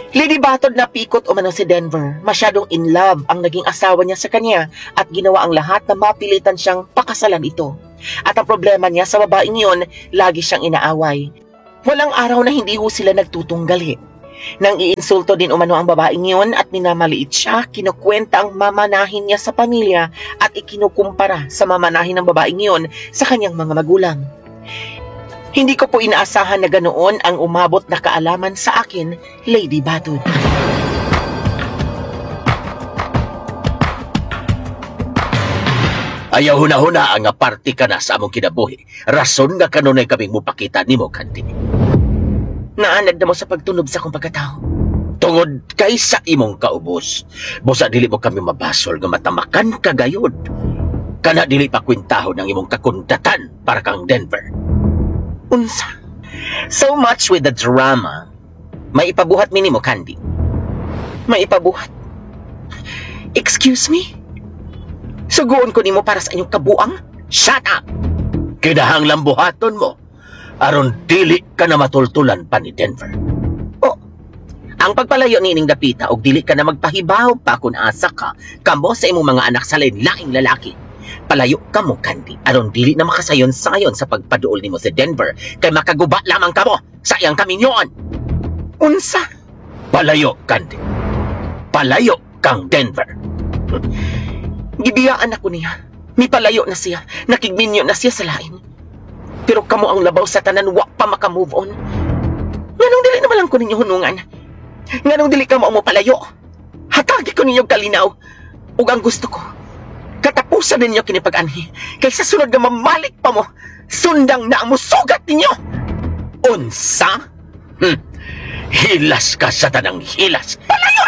Lady Batod, napikot umano si Denver. Masyadong in love ang naging asawa niya sa kanya at ginawa ang lahat na mapilitan siyang pakasalan ito. At ang problema niya sa babaeng yun, lagi siyang inaaway. Walang araw na hindi ho sila nagtutunggali. Nang iinsulto din umano ang babaeng yun at minamaliit siya, kinukwenta ang mamanahin niya sa pamilya at ikinukumpara sa mamanahin ng babaeng yun sa kanyang mga magulang. Hindi ko po inaasahan na ganoon ang umabot na kaalaman sa akin, Lady Batod. Ayaw huna-huna ang parte ka na sa among kinabuhi. Rason nga kanunay kaming mupakita nimo, Candy. Naanad na mo sa pagtunob sa akong pagkatao. Tungod kay sa imong kaubos, busa dili mo kami mabasol nga matamakan ka gayud. Kana dili pa kwintahon ang imong kakundatan para kang Denver. Unsa? So much with the drama. May ipabuhat mi nimo, Candy. May ipabuhat. Excuse me? Suguon ko nimo para sa inyong kabuang? Shut up! Kinahanglang buhaton mo aron dili ka na matultulan pa ni Denver. Oh, ang pagpalayo ni ining dapita og dili ka na magpahibaw pa kung asa ka kamo sa imong mga anak sa lain-laing lalaki. Palayo ka mo, Candy, aron dili na makasayon-sayon sa pagpaduol nimo sa Denver kay makaguba lamang kamo sa iyang kaminyoon. Unsa? Palayo, Candy. Palayo kang Denver. Gibiyaan ako niya. Mipalayo na siya. Nakigminyo na siya sa lain. Pero kamo ang labaw sa tanan, wa pa maka-move on. Nganong dili naman lang ko ninyo hunungan? Nganong dili ka mo palayo? Hatagi ko ninyo kalinaw. Ug ang gusto ko, katapusan ninyo kini pag-anhi. Kay sa sunod nga mamalik pa mo, sundang na ang musugat ninyo. Unsa? Hilas ka sa tanang hilas. Palayo!